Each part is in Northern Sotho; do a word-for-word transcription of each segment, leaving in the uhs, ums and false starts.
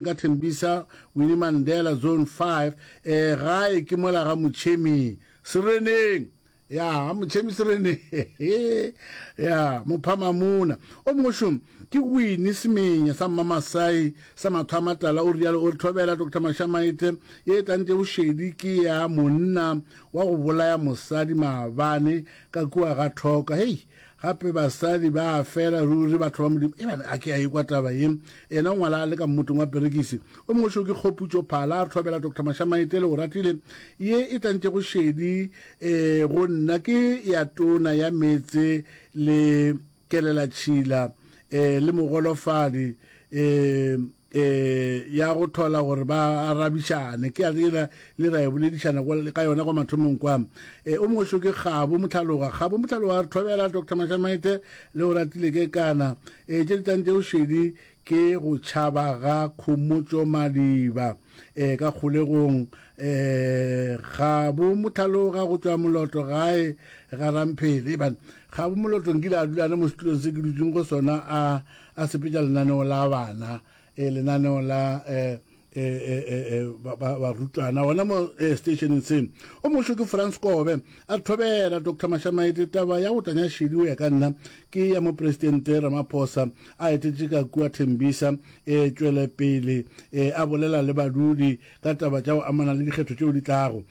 Ka Thembisa Winnie Mandela Zone five, eh, gae ke mola ga Motšhemi Sereneng. Ya, ga Motšhemi Sereneng. Ya, Mophamamuna. O mongwe šo ke Winnie Semenya sa Mmamasai sa matho a matala, o rialo o re thobela Doctor Mashamaite ye e tlantše bošedi ke ya monna wa go bolaya mosadi maabane ka kua ga Thoka. Hei, Gape basadi ba a fela ruri, batho ba Modimo. Ebane a ke a ekwa taba ye. Yena o ngwala a le ka mmotong wa perekisi. O mongwe šo ke Kgoputšo Phala, a re thobela Doctor Mashamaite le Oratile. Ye e tlantšego šedi e go nna ke ya tona ya meetse le kelelatšhila e le mogolofadi e e ya go thola gore ba arabišane. Ke a yela le ra e boledišana ka yona kwa mathomong kwa. E, o mongwe šo ke Kgabo Mohlaloga. Kgabo Mohlaloga a re thobela Doctor Mashamaite le o ratile ke kana. E, tše di tlang tšeo šedi ke go tšhaba ga Khomotšo Madiba e, ka kgolegong. E, Kgabo Mohlaloga go tšwa Moloto gae ga Ramphele. E bana, Kgabo Moloto nkile a dula ane mo setulong se ke dutšeng go sona a a sepetša lenaneo la bana, e lenaneo la e e e barutwana gona mo stationeng se. O mongwe ke Frans Kobe a thobela Doctor Mashamaite taba ya go tanya šedi o ya ka nna ke ya mopresidente Ramaphosa a etetše ka kua Thembisa e tšwele pele e a bolela le badudi ka taba tša go amana le dikgetho tšeo di tlago.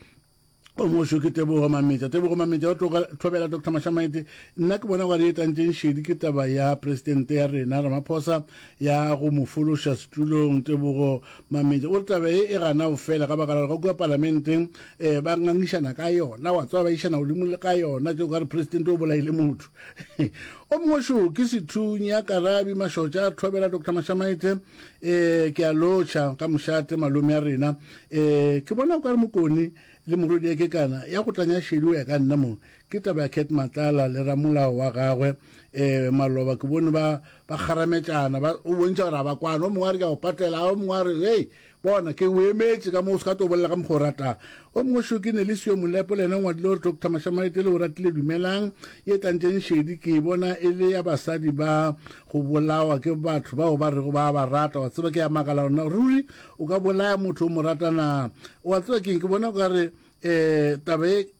O mongwe ke Tebogo Mametša. Tebogo Mametša o thobela Doctor Mashamaite nna ke bona gore e tlantšeng šedi ke taba ya presidente ya rena Ramaphosa ya go mo fološa setulong. Tebogo Mametša o re taba e e gana go fela ka baka la gore ga kua palamenteng um ba ngangišana ka yona, wa tseba ba išana godimo ka yona tšeo ka re presidente o bolaile motho. O mongwe šo ke Sethunya Karabi Mašotša a thobela Doctor Mashamaite um ke a lotšha ka mošate malome ya rena. Um ke bona o ka re Mokone le morwedi ya kekana ya go tlanya šedi o ya ka nna mo ke taba ya Cat Matlala le ramolao wa gagwe um maloba ke bone ba ba kgarametšana ba o bontšha gore a ba kwana. O mongwe a re ke a go patela, o mongwe a re hei bona ke o emetše ka mo o se ka tlo bolela ka mokgwa o ratang. O mongwe šo ke Nelisiwe Molepo le yena o ngwadile gore Doctor Mashamaite le o ratile dumelang ye tlantšeng šedi ke bona e le ya basadi ba go bolawa ke batho bao ba rego ba ba rata. Wa tseba ke ya makala gona ruri o ka bolaya motho o mo rata na? Wa tseba keng, ke bona o ka re um taba e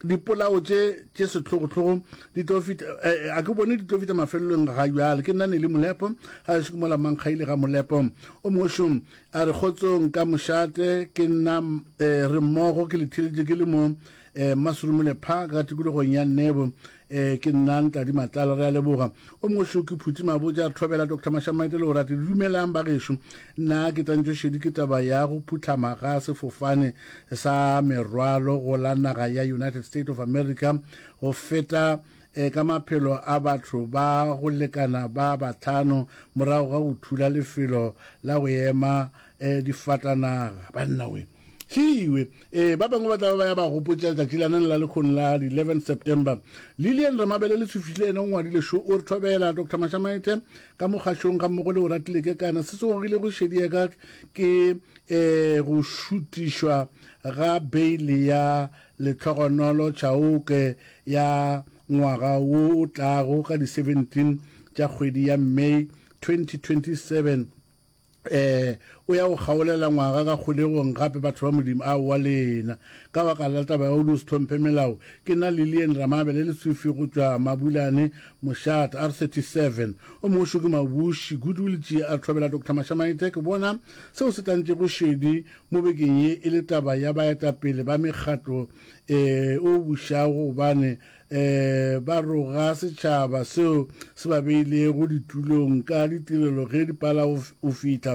dipolao tše tše sehlogohlogo di tlo fihla a ke bone di tlo fihla mafelelong ga bjale. Ke nna Nelly Molepo ga ešo ke mola Mankgaile ga Molepo. O mongwe šo a re kgotsong ka mošate ke nna re mmogo ke le theletše ke le mo Masurumule Park ga tikologong ya Nebo. Ke nna Ntladi Matlala, re a leboga. O mongwe šo ke Phuti Mabotja a re thobela Doctor Mashamaite le o rate dumelang ba gešo. Nna ke tlantšwe šedi ke taba ya go phuhlama ga sefofane sa merwalo go la naga ya United States of America go feta ka maphelo a batho ba go lekana ba bahlano morago ga go thula lefelo la go ema difatanaga. Banna we hiwe e ba bangwe ba tla ba ya ba gopotša letšatši la nang la lekgono la eleven September. Lilian Ramabele le Sefile yena o ngwadile šo o re thobela Doctor Mashamaite ka mokgašong ga mmogo le o ratile ke kana se se gogile go šedi ya ka ke e go šutišwa ga beile ya Lehlogonolo Chauke ya ngwaga wo o tlago ka di seventeen tša kgwedi ya May twenty twenty-seven. Eh o ya go kgaolela ngwaga ka kgolegong gape batho ba Modimo aowa lena ka baka la taba ya go no se hlomphe melao. Ke nna Lilian Ramabele Lesufi go tšwa Mabulane Mošate R thirty-seven. O mongwe šo ke Mabuši Goodwill Tšie a thobela Doctor Mashamaite ke bona seo se tlantšego šedi mo bekeng ye e le taba ya baetapele ba mekgatlo e o bušago gobane eh ba roga setšhaba seo se ba beilego ditulong ka ditirelo ge di pala o fihla.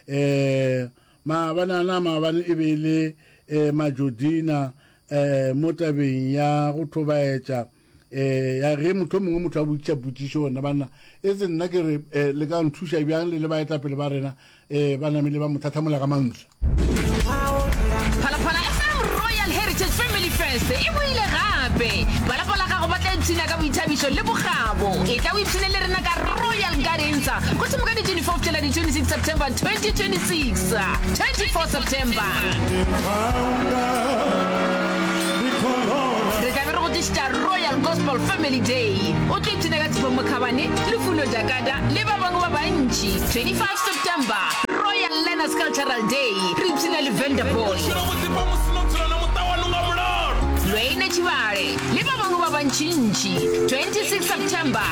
Eh maabane maabane e be le eh Majodina eh mo tabeng ya go thobaetša eh ya ge motho mongwe motho a botša potšišo gona banna e se nna ke re le ka nthuša bjang le le baetapele ba rena eh ba namile ba mo tlhatlhamola ka mantswe. Phalaphala F M Royal Heritage Family Fest e boile gape. Ba lapa la gago ba tla ipshina ka boithabišo le bokgabo. E tla o ipshine le rena ka Royal Gardens go thoma ka di twenty-four fihlela di twenty-six September twenty twenty-six. twenty-four September. Re tla be re go tlišetša Royal Gospel Family Day. O tlo ipshina ka Tshepo Mokhabane, Lufuno Jakada le ba bangwe ba bantši. twenty-five September. September, Royal Learners Cultural Day, re ipshina le Vanderpool, Lwene Tšhibale le ba bangwe ba bantšintši. Twenty-six September,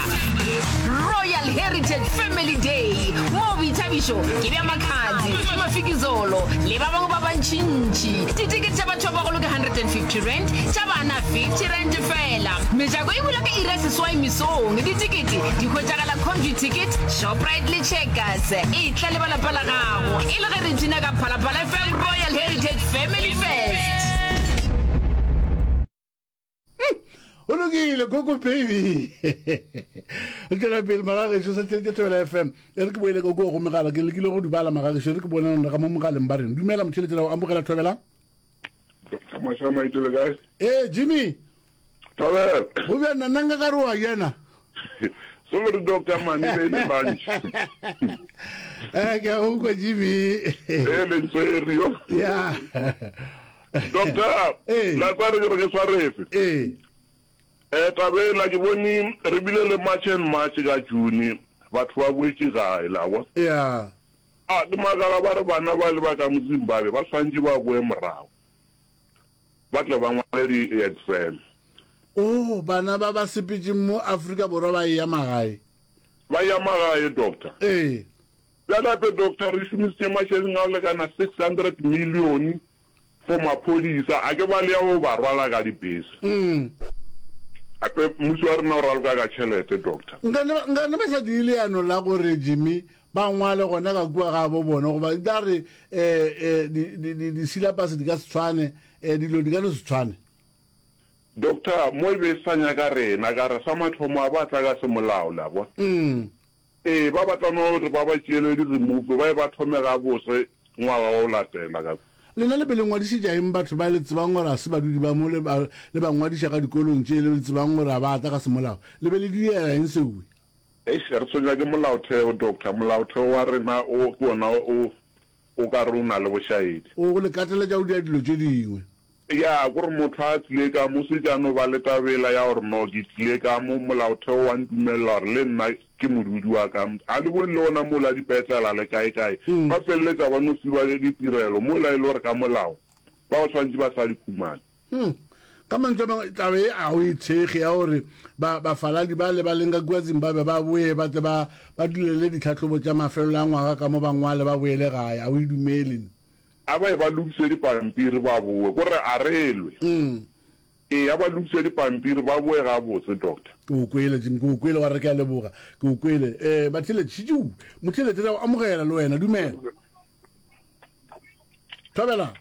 Royal Heritage Family Day, moo boithabišo ke bja Makhadzi, Mafikizolo le ba bangwe ba bantšintši. Ditikete tša batho ba bagolo ke hundred and fifty rand, tša bana fifty rand fela. Mejako e bula ka iri ya seswai mesong. Ditikete di hwetšagala Computicket, Shoprite le Checkers. Etla le ba lapa la gago e le ge re ipshina ka Phalaphala F M Royal Heritage Family Fest. Go lokile, Koko Baby. Re tšwela pele magagešo sa tšhelete Thobela F M. E re ke boele ka kua go megala, ke lekile go dubala magagešo, e re ke bone ga mo mogaleng ba reng. Dumela motšheletše la go amogela Thobela. Doctor Mashama itse le kae? Eh Jimmy. Thobela. Go bjang nna nka ka re wa yena. Sorry Doctor mane be le lunch. Eh ke a go kwa Jimmy. Eh le ntshwere yo. Yeah. Doctor, Eh. la tsa re ke re ke tshwarefe. Eh. Eh tabela ke bone re bile le March and March ka June batho ba boetše gae la bona. Yeah. A ke makala ba re bana ba le ba ka mo Zimbabwe ba swantše ba boe morago. Ba tle ba ngwale di exam. Oh, bana ba ba sepetšeng mo Afrika Borwa ba ya magae. Ba ya magae doctor. Eh. Bjale gape doctor re šomisitše mašeleng a go lekana six hundred million for maphodisa a ke ba le ya go ba rwala ka dibese. Mm. Gape mmušo wa rena o raloka ka tšhelete doctor. Nka ne ba, nka ne ba sa dire leano la gore Jimmy ba ngwale gona ka kua ga bo bona goba di tla re eh eh di di di di syllabus di ka se tshwane, eh dilo di ka no se tshwane. Doctor, mo e be e sa nyaka rena ka re sa mathomo a ba tla ka semolao la bona. Mm. Ee, ba batla no re ba ba tšeele di remove ba e ba thome ga bose ngwaga wa go latela ka. Lena le be le ngwadišetša eng batho ba le tsebang gore a se badudi ba mo le ba le ba ngwadiša ka dikolong tše le tsebang gore a ba tla ka semolao? Le be le direla eng seo? Eish, re tshwenywa ke molaotheo, Doctor. Molaotheo wa rena o ke wona o o ka re o na le bošaedi. O go le kateletša go dira dilo tše dingwe. Ya, kore motho a tlile ka mo, se tša no ba le tabela ya gore no ke tlile ka mo, molaotheo wa ntumelela gore le nna ke modudi wa ka. A le bone le ona mola dipetlela le kae kae, ba feleletša ba no fiwa ditirelo mola e le gore ka molao ba go tshwanetše ba sa di khumane. Hmm. Ka mantswe a mangwe taba e a go e thekge ya gore ba bafaladi ba le ba leng ka kua Zimbabwe ba boe ba tle ba ba dulele ditlhahlobo tša mafelelo a ngwaga ka mo ba ngwale ba boele gae, a o e dumele? A ba ye ba lokise dipampiri ba boe, kore a re lwe. Mm. Ee, a ba lokise dipampiri ba boe gabotse, Doctor. Ke o kwele, Jim, ke o kwele, wa re ke a leboga. Ke o kwele. Eh, Batheeletši, tšiu, motheeletši, re a go amogela le wena, dumela. Thobela.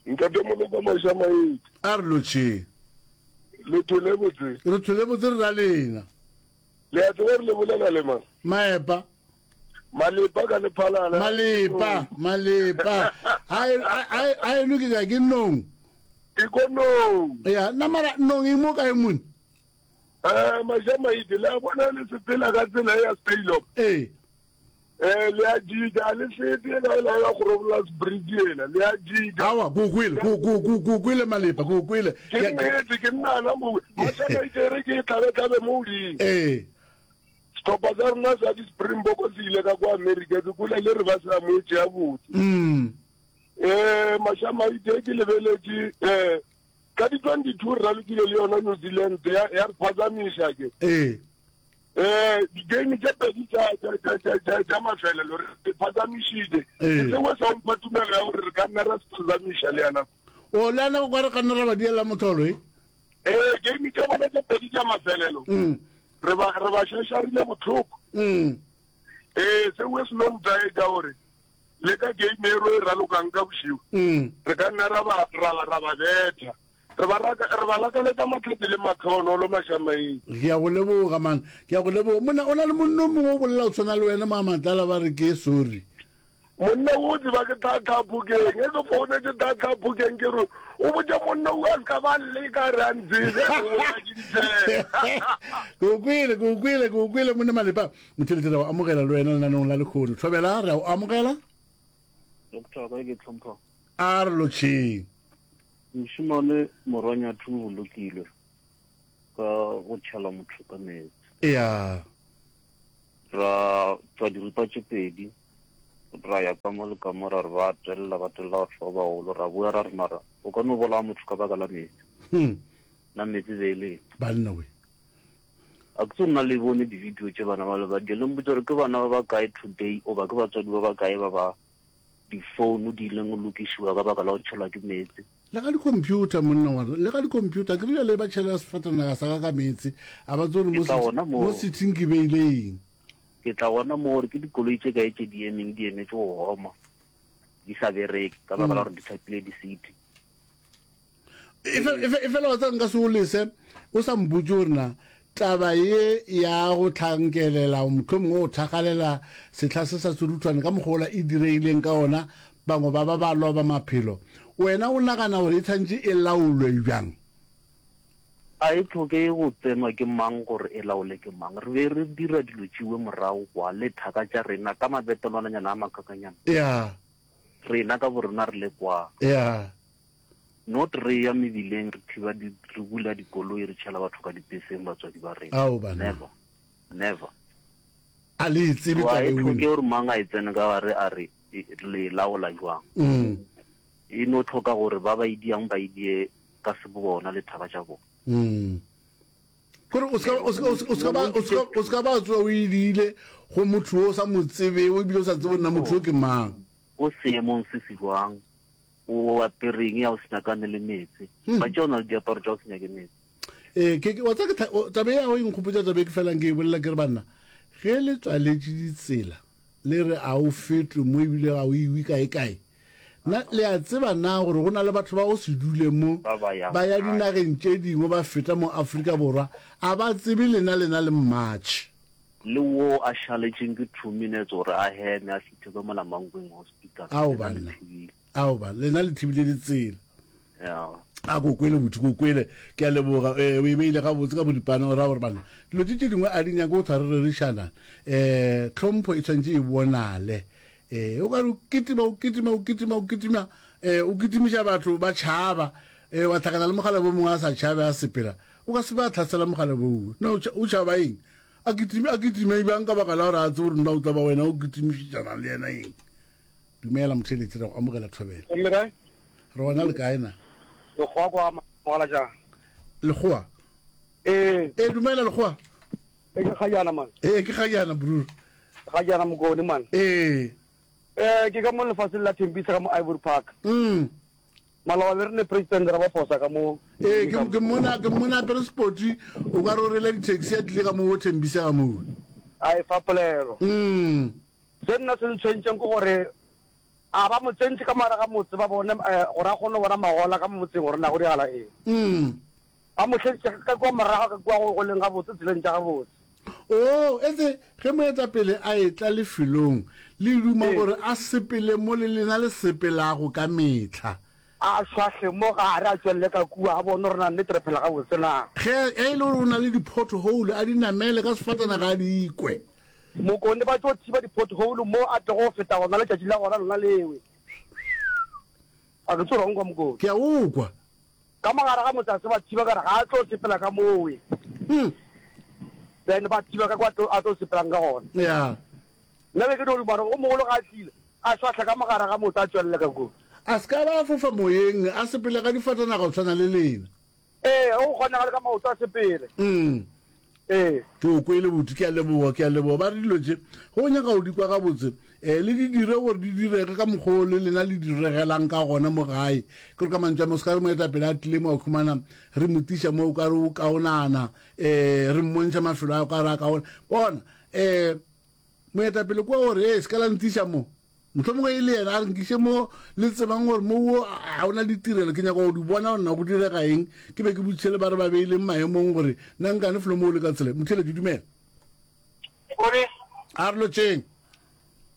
Ntate Moloko Mašamaedi. A re lotšheng. Le thole botse. Re thole botse re ra lena. Le a tseba re le bolela le mang? Maepa. Malepa ka lephalala. Malepa, malepa. A a eno ke ka ke nong. Ke ko nong. Ya, nna mara nong e mo kae mone? Eh, Mašamaedi, le a bona le sepela ka tsela ya Speylock. Ee. Eh, le a jika, le fete ela ela ya Grobler's Bridge ela, le a jika. Awa, ko kwele, ko ko ko ko kwele Malepa, ko kwele. Ke nnete, ke nnana mo. Mašamaedi re ke tlabe tlabe mo godimo. Ee. Sehlopha sa rena sa di-Springbok se ile ka kwa Amerika, ke kwele le re ba se amoetše gabotse. Mm. Eh, Mašamaedi ke lebeletše eh ka di twenty-two re ralokile le yona New Zealand ya ya re phazamiša ke. Ee. Eh, di-game tše pedi tša tša tša tša tša tša mafelelo re phazamišitše. Ee. Ke sengwe sa mpha tumelo ya gore re ka nna ra se phazamiša le yana. O le yana go kwa re ka nna ra ba diela motholo e? Eh, game tša bona tše pedi tša mafelelo. Mm. Re ba re ba šašarile bohloko. Mm. Eh, sengwe se no ntaetša gore le ka game e ro e ralokang ka bošego. Mm. Re ka nna ra ba ra ra ba betha. Re ba raka re ba lakaletša matlhatse le matlhonolo Mašamaedi. Ke a go leboga man, ke a go leboga. Monna o na le monna o mongwe o bolela o tshwana le wena mo Matlala ba re ke sorry. Monna o tseba ke Thatha Phokeng, ge ke founetše Thatha Phokeng ke re o botše monna o a se ka ba leka re a ntsebe, o bolela ke ditshele. Ke o kwele, ke o kwele, ke o kwele monna Malepa. Motheeletši re a o amogela le wena lenaneong la lekgono. Thobela, re a o amogela. Doctor, kae ke tlhompha? A re lotšheng. Mošemane Morwanyathu o bolokilwe ka go tšhela motho ka meetse. Ya. Ra tšwa diripa tše pedi Ra ya ka mo le ka mo ra re ba telela ba telela batho ba bagolo ra boya ra re mara o ka no bolaya motho ka baka la meetse. Hmm. Na meetse be e le eng? Banna we. A ke tsebe nna le bone di-video tše bana ba le ba di le mpotse gore ke bana ba ba kae today oba ke batswadi ba ba kae ba ba di-phone di ileng go lokišiwa ka baka la go tšhelwa ke meetse. Le ga di-computer monna wa le ga di-computer ke rile le ba tšhela sefatanaga sa ka ka meetse a ba tsebe Ke gore tla gona mo moo. sitting ke beile eng. Ke tla gona moo gore ke dikoloi tše kae tše di emeng di emetše go homa di sa bereke ka baka la gore di hlapile di-city. E fela wa tseba nka se o lese o sa mpotše gore na taba ye ya go tlhankelela mohlomongwe go thakgalela sehla se sa seruthwane ka mokgwa wola e diregileng ka ona bangwe ba ba ba loba maphelo wena o nagana gore e tshwanetše e laolwe bjang? A e tlhoke go tsenwa ke mang gore e laole ke mang? Re be re dira dilo tšewe morago kwa le thaka tša rena ka mabetelwananyana a makakanyana. Ya. Rena ka borena re le kwa. Ya. Not re ya mebileng re thiba di, re bula dikoloi re tšhela batho ka dipeseng batswadi ba rena. Ao banna. Never. Never. A le e tsebe So a taba e eo tlhoke wena? gore mang a e tsene ka gare a re e, le e laola jwang. Mm. E no tlhoka gore ba ba e diang ba e die ka sebobona le thaka tša bona. Mm. Kore o ska o ska o ska ba o ska o ska ba tsoa o e diile go motho o sa mo tsebego ebile o sa tsebe nna motho o ke mang. O seemong se se jwang, o apereng ya go se nyakane le meetse. Hmm. Ba tšea o na le diaparo tša go se nyake meetse. Ee, ke ke wa tseba ke tha- o- taba ya go e nkgopotša taba e ke felang ke e bolela ke re banna ge le tswaletše ditsela le re a o fetwe mo ebile ga o iwe kae kae na le a tseba na gore go na le batho ba go se dule mo Ba ba yang ba ya gae. dinageng tše dingwe ba feta mo Afrika Borwa a ba tsebe lena lena le mmatšhe. Le wo a šaletšeng ke two minutes gore a heme a fithe ka mola Mankweng Hospital. Ao Lena le banna. thibile. Ao banna, lena le thibile ditsela. Ya. A ko kwele botho, ko kwele. Ke a leboga. Eh, o e beile gabotse ka boripana, o ra gore banna dilo tše tše dingwe a di nyake go thwa re rerišana. Eh, tlhompho e tshwanetse e bonale. Eh, o ka re o kitima, o kitima, o kitima, o kitima, eh, o kitimiša batho ba tšhaba. Eh, wa hlakana le mogala bo mongwe a sa tšhabe a sepela. O ka se ba tlhasela mogala boo. Na o tšha- o tšhaba eng? A kitime, a kitime bjang ka baka la gore a tsebe gore nna o tla ba wena o kitimišetšana le yena eng? Dumela motheeletši, re go amogela thobela. Gomme kae? Re gona le kae na? Lekgowa kwa mogala jang? Lekgowa? Ee. Ee, dumela lekgowa. Ee, ke Kgajana man. Ee, ke Kgajana brur. Kgajana Mokone man. Ee. Eh, ke ka mo lefatsheng la Thembisa ka mo Ivory Park. Mm. Maloba be re ne president ra ba fosa ka mo. Ee, ke ke mmona ke mmona apere spoti o ka re o rela di-taxi a tlile ka mo Thembisa ka mo. A e fa polelo. Mm. Se nna se ntshwentseng ke gore a ba mo tsentse ka mara ga motse ba bone eh, gore a kgone go bona magola ka mo motseng gore na go diragala eng. Mm. Ba mo tlheditše ka kua morago ka kua go go leng gabotse tseleng tša gabotse. Oh, etse ge moetapele a etla lefelong le duma Ee. gore a sepele mo le lena le sepelago ka mehla. A šwahle mo gare a tšwelele ka kua a bone gore na nnete re phela gabotse na. Ge e le gore o na le di-pothole a di namele ka sefatanaga a di kwe. Mokone ba tlo thiba di-pothole mo a tlogo go feta gona letšatši la gona lona lewe. A ke tsore nkwa Mokone. Ke a o kwa. Ka mogare ga motse a se ba thiba ka re ga a tlo sepela ka mowe. Hmm. Then ba thiba ka kwa a tlo sepelang ka gona. Ya. Nna be ke no duma gore o mogolo ga a tlile a šwahla ka mogare ga motse a tšwelele ka kua. A se ka ba a fofa moyeng a sepele ka difatanaga go tshwana le lena. Ee, go kgonagale ka maoto a sepele. Mm. Ee. Ke o kwele botho, ke a leboga, ke a leboga. Ba re dilo tše ge o nyaka go di kwa gabotse, um le di dire gore di direge ka mokgwa o le lena le diregelang ka gona mo gae. Ke re ka mantšu a mangwe, se ka re moetapele a tlile mo a khumana re mo tiša mo o ka re o kaonana, um re mmontšha mafelo a o ka re a kaona. Bona, um moetapele kwa gore ee se ka la ntiša mo. Mohlomongwe e le yena a re nkiše mo le tsebang gore mo wo ga ona ditirelo, ke nyaka go di bona gore na go direga eng. Ke be ke botšiše le ba re ba beileng maemong gore na nkane felo mo o le ka tsela. Motheeletši, dumela. Mokone. A re lotšeng.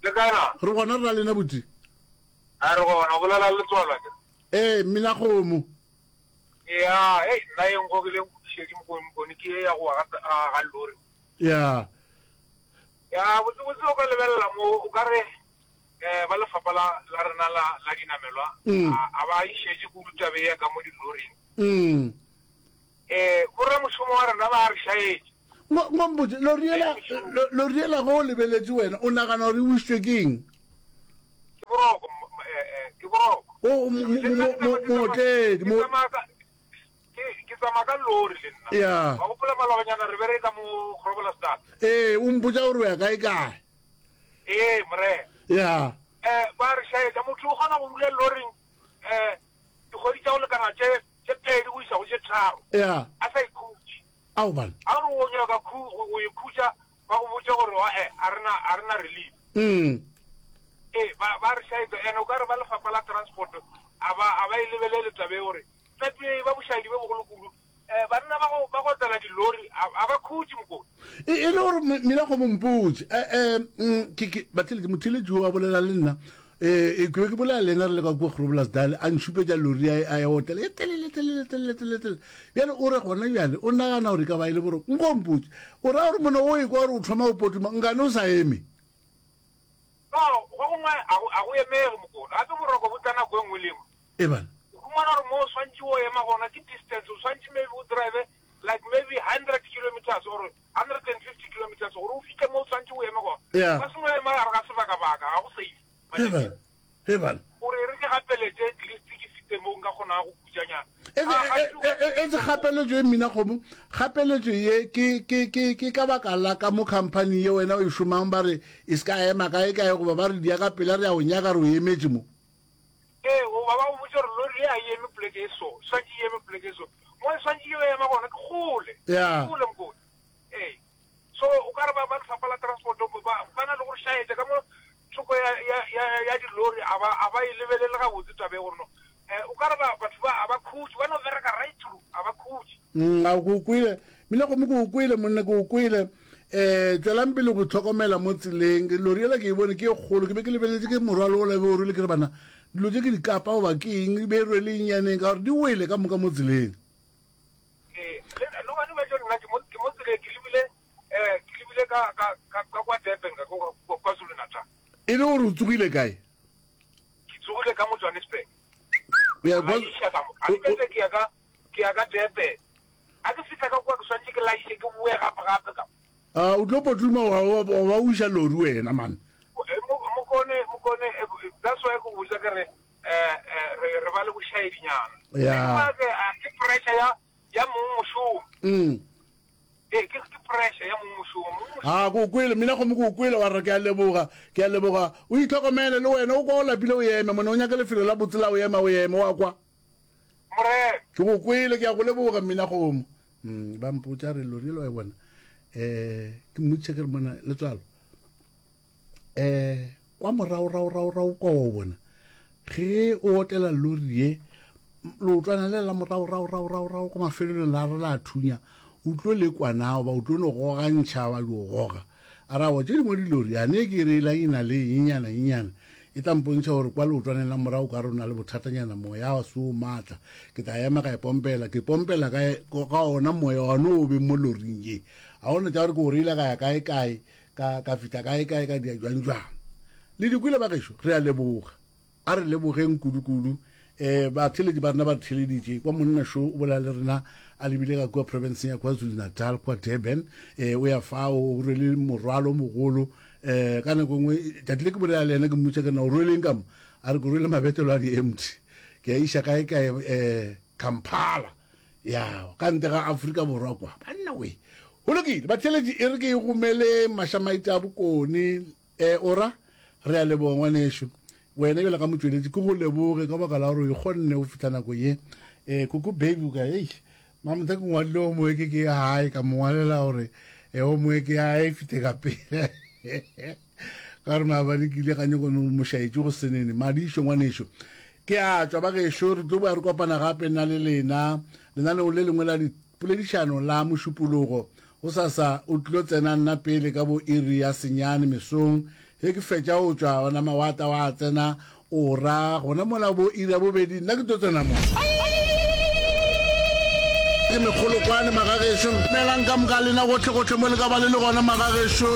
Le kae na? Re gona re ra lena botši. A re gona, o bolela le Letswalo ke. Ee, mmina kgomo. Ya, hei, nna e nkgogileng kudušedi Mokone, Mokone ke ye ya go wa ga, ga, ga lori. Ya. Ya, botsebotse o ka lebelela mo, o ka re eh, ba lefapha la, la rena la, la dinamelwa, Mm. a, a ba išetše kudu tabe ya ka mo diloring. Mm. Eh, boramošomo wa rena ba re šaetše. Ngo, ngo mpotše, lori yela, lo-, lori yela ge o lebeletše wena, o nagana gore e wišitšwe ke eng? O mootledi. Ke tsamaya ka ke ke tsamaya ka lori le nna. Ya. Wa gopola malobanyana re bereka mo Groblersdal. Ee, o mpotša gore o ya kae kae. Ee, morena. Ya. Eh, ba re šaetša motho o kgona go dula loring eh dikgwedi tša go lekana tše tše pedi go isa go tše tharo. Ya. A sa ikhutše. Ao bana. A re o nyaka khu go ikhutša ba go botša gore wa eh a rena a rena relief. Mm. Ee, ba ba re šaetša ene o ka re ba lefapha la transport a ba a ba e lebelele taba e gore tlape ba bošaedi bo bogolo kudu. Eh, banna ba go ba go otlela dilori a a ba khutše mokone. E e le gore mina go mompotse eh eh mm, ke ke batheletši motheletši o a bolela le nna eh ke be ke bolela le yena re le ka kua Groblersdal a nšupetša lori a a ya otlela e telele telele telele telele telele bjale o re gona bjale o nagana gore e ka ba e le boroko nko mpotse o raya gore mona o ekwa gore o thoma go potuma nkane o sa eme No, go gongwe a go a go emege mokone. Gape boroko bo tla nako e nngwe le e nngwe. e bana O humana gore mo o swantše o ema gona ke distance, o swantše maybe o drive like maybe hundred kilometers or hundred and fifty kilometers gore o fihle mo o swantše o eme gona. Yeah. Ba sengwe ema gare ga sebakabaka, ga go safe. e bana e bana Gore e re ke gapeletše at least ke fite mo nka kgonago go khutšanyana. etse kgapeletšo e mmina kgomo kgapeletšo ye ke ke ke ke ka baka la ka mo company ye wena o e šomang ba re e se ka ema kae kae goba ba re dia ka pela re ya go nyaka re o emetše mo Ee, goba ba go botša gore lori ye a e eme poleke e so, swantše e eme poleke e so. Mo e swantše e ema gona ke kgole. Yeah. Kgole mokone. Ee. So o ka re ba ba lefapha la transport ba ba na le gore šaetša ka mo thoko ya ya ya ya dilori a ba a ba e lebelele gabotse taba e gore no. Eh, o ka re ba batho ba a ba khutše, ba no bereka right through, a ba khutše. Mm, a ko kwele mmina kgomo ke o kwele monna ke o kwele um tswelang pele go tlhokomela mo tseleng lori ela ke e bone ke e kgolo ke be ke lebeletse ke morwalo ola be o rwele ke re bana dilo tse ke di kapa goba ke eng e be e rwele nyaneng ka gore di wele ka moka mo tseleng Ee, le le gone ba tlo nna ke mo ke mo tseleng ke lebile eh ke lebile ka ka ka ka kwa Durban ka kwa kwa KwaZulu Natal. e le gore o tsogile kae Ke tsogile ka mo Johannesburg. O ya A kwa- iša ka mo. A ke fetsa ke ya ka ke ya ka Durban. A ke fihla ka kwa ke swantše ke laiše ke boe gape gape ka. Ah, o tlo potuma wa wa- wa o iša lori wena man Eh, mo- Mokone mokone eh, that's why ke go botša ke re eh eh re re ba le bošaedinyana. Yeah. Ke ah, ke pressure ya ya mong mošomo. Mm. Ee, ke ke pressure ya mong mošomo. Mong mošomo a ko kwele mina kgomo ko kwele wa re ke a leboga ke a leboga o itlhokomele le wena o kwa o lapile o eme mone o nyaka lefelo la botse la o ema o eme wa kwa morena. ke go kwele ke a go leboga mmina kgomo Mm, ba mpotša re lori elo wa e bona um ke mmotšiša ke re mona letswalo um kwa moragoragoragorago kwa wa o bona ge o otela lori ye leotwana le la moragoragoragorago kwa mafelelong la re la thunya o tlo le kwana goba o tlo no gogantšha wa di goga a ra wa tše dingwe dilori yane ke re elang e na le nyenyana nyenyana e tla mpontšha gore kwa leotwaneng la morago ka re o na le bothatanyana moya wa se o maatla ke tla ema ka e pompela ke pompela ka ka ona moya one o beng mo loring ye ga ona tša gore ke o reile ka ya kae kae ka ka fihla kae kae ka dia jwang jwang le dikwele ba gešo re a leboga a re lebogeng kudu-kudu um batheletši ba rena ba re theleditše kwa monna šo o bolela le rena a lebile ka kua provinceng ya kwazulu natal kwa durban um o ya fao o rwele morwalo o mogolo um ka nako nngwe tšatši le ke bolela le yena ke mmotša ke na o rweleng ka mo a re ke rwele mabetelo a di-empty ke a iša kae kae um kampala ya ka ntle ga afrika borwa kwa banna we go lokile batheletši e re ke e gomele mašamaite a bokone um ora re a leboga ngwanešo wena bjale ka motsweletši ke go leboge ka baka la gore o ikgonne go fihla nako ye um koko baby o ka ei mamotha ke ngwadile o moe ke ke ya gae ka mo ngwalela gore e o moe ke ya gae e fite ka pele ka gore maabane ke ile ga nyako no mošaetše go senene madišo ngwanešo ke a tšwa ba gešo re tlo boya re kopana gape nna le lena lenaneo le lengwe la dipoledišano la mošupologo go sasa o tlilo tsena nna pele ka bo iri ya senyane mesong ge ke fetša o tšwa ona mawata wa tsena o ra gona mola bo iri ya bobedi nna ke tlo tsena mo ke mekgolokwane magagešo melang ka moka lena gotlhe gotlhe mo le ka ba le le gona magagešo